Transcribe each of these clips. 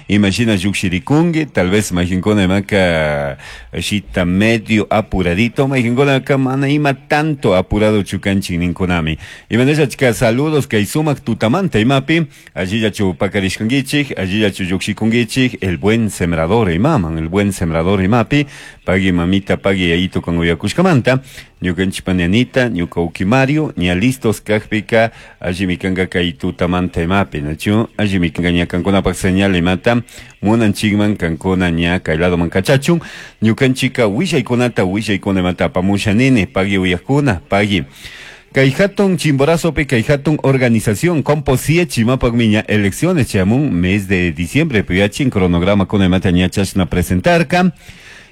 Imashina llukshirikunki, tal vez mayqinkuna imaka shita medio apuradito, mayqinkunaka mana ima tanto apuradochu kanchik ninkunami. Imanashachka saludos kay sumak tutamanta imapi, allillachu pakarishkankichik, allillachu llukshikunkichik, El Buen Sembrador imaman, El Buen Sembrador imapi, pagui mamita, pagui yayito kan uyakushkamanta, ñukanchik pani Anita, ñuka uki Mario, ña listos kakpika, allimi kanka kay tutamanta imapi, nachu? Allimi kanka ña kankunapak señal imata munanchikman kankuna ña kay ladoman kachachun, ñukanchika willaykunata willaykuna imata apamusha nini, pagui uyakuna, pagui. Kay hatun Chimborazopi kay hatun organización Composiech imapakmi ña elecciones chayamun mes de diciembre puyachin cronograma kuna imata ña chashna presentarka.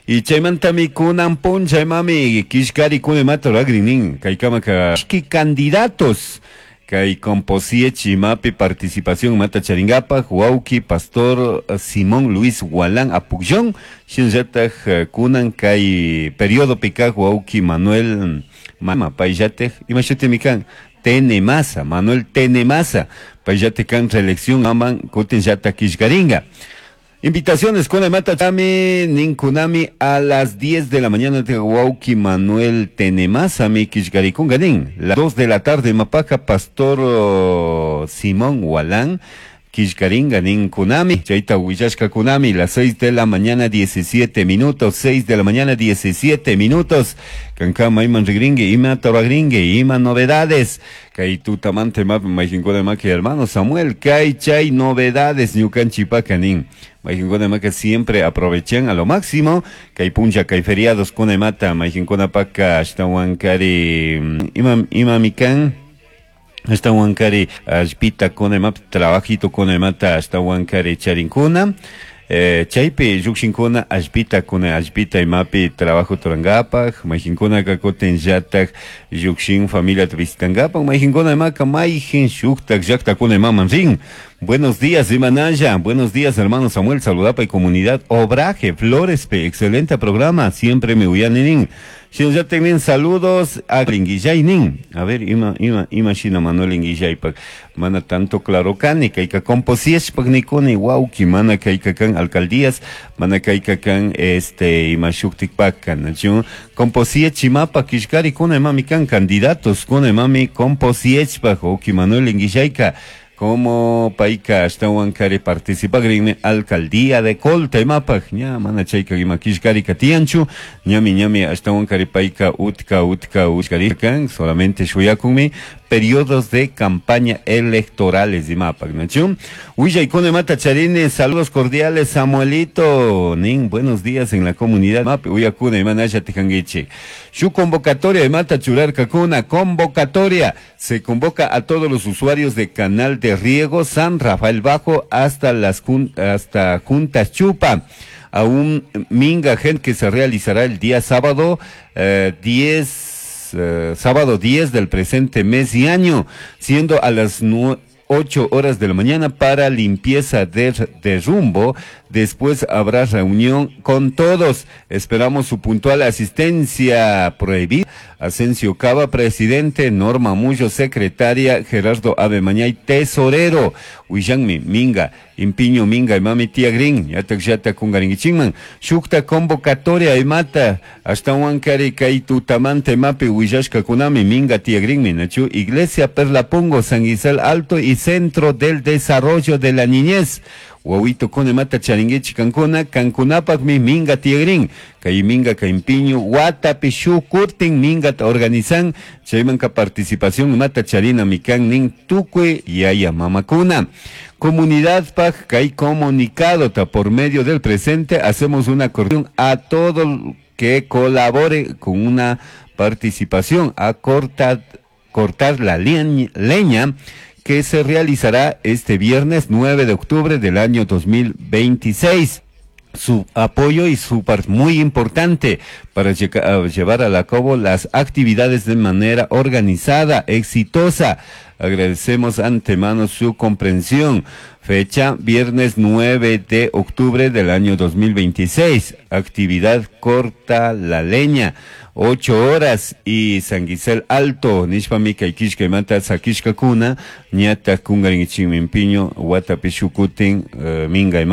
Y chaymantami kunan puncha imami kishkari kuna imata ruragrin nin kaykamaka ishki candidatos kay Composiech imapi participación imata charingapak wawki pastor Simón Luis Gualán Apucllón shinallatak kunan kay periodopi kak wawki Manuel Mama payllatik ima shutimi kan Tenemasa, Manuel Tenemasa payllatik kan reelección aman kutinllatak killkarinka. Invitaciones con imata chami ninkunami a las 10 de la mañana wawki Manuel Tenemasa mi killkarikunka nin. Las 2 de la tarde mapaja pastor Simón Gualán killkarinka ninkunami. Chayta willashka kunami las 6 de la mañana 17 minutos, 6 de la mañana 17 minutos. Kanka mayman rigringue, ima toragringue, ima novedades. Kay tutamante map mayqinkuna maki hermano Samuel, kay chay novedades ñukanchipaka nin. Mayqinkuna maka siempre aprovechan a lo máximo. Kay puncha kay feriados kuna imata mayqinkuna paka ashtawan kari ima ima mikan ashtawan kari allpita kuna imap trabajito kuna imata ashtawan kari charinkuna. Chaypi llukshinkuna allpita kuna allpita imapi trabajo turankapak, mayqinkunaka kutin llatak llukshin familiata visitankapak, mayqinkuna imaka mayqin shuktak llaktakuna imaman rin. Buenos días, Imanaya. Buenos días, hermano Samuel. Saludapa y comunidad Obraje, Flores, P. Excelente programa. Siempre me uyaninin. Shinllateknin saludos a Inguillaynin. A ver, ima, ima, ima shina Manuel Inguillaypak. Mana tanto claro kani, kayka composiechpak nikuni, wawki, mana kayka kan alcaldías, mana kayka kan, este, ima shuktikpak kan, nachu? Composiech imapa kishkari kuna imami kan candidatos, kuna imami composiechpak, wawki Manuel Inguillayka. Como payka ashtawan kari participagrinmi alcaldía de Colta imapak ña mana chayka ima kishkarika tiyanchu ñami ñami ashtawan kari payka utka utka utkarikan solamente shuyakunmi periodos de campaña electorales imapak nachu. Willaykuna imata charini, saludos cordiales Samuelito nin, buenos días en la comunidad mapi uyakuna imanalla tijanguichi. Su convocatoria imata churarkakuna, convocatoria se convoca a todos los usuarios de Canal de Riego San Rafael Bajo hasta las hasta Juntas Chupa, a un minga gente que se realizará el día sábado, 10, sábado 10 del presente mes y año, siendo a las 8 horas de la mañana para limpieza de rumbo. Después habrá reunión con todos. Esperamos su puntual asistencia. Prohibida. Asensio Cava, presidente. Norma Mullo, secretaria. Gerardo Ave Mañay, tesorero. Huillanmi, Minga, Impiño, Minga, Imami, Tía Green. Yatak, yata, kungaringichingman. Shukta convocatoria, imata. Hasta Huancari, Kaitutamante, Mapi, Huillashka, Kunami, Minga, Tía Green, Minachu. Iglesia Perlapongo, San Gisel Alto y Centro del Desarrollo de la Niñez. Wawito kone mata charinguichi kankuna, kankunapak mi minga tiegrin, kay minga kaimpiño, watapi shukurtin minga ta organizan, chaymanka participación mata charina mikan nin tukue yaya mamakuna. Comunidad pak kay comunicado ta por medio del presente hacemos una corrección a todo que colabore con una participación a cortar la leña que se realizará este viernes 9 de octubre del año 2026. Su apoyo y su parte muy importante para llevar a cabo las actividades de manera organizada, exitosa. Agradecemos antemano su comprensión. Fecha viernes 9 de octubre del año 2026. Actividad corta la leña. 8 horas y San Gisel Alto, nishpami kay kishkaymanta sakishkakuna, ñata kungarinkichikmi piño, watapi shukutin, uh, minga.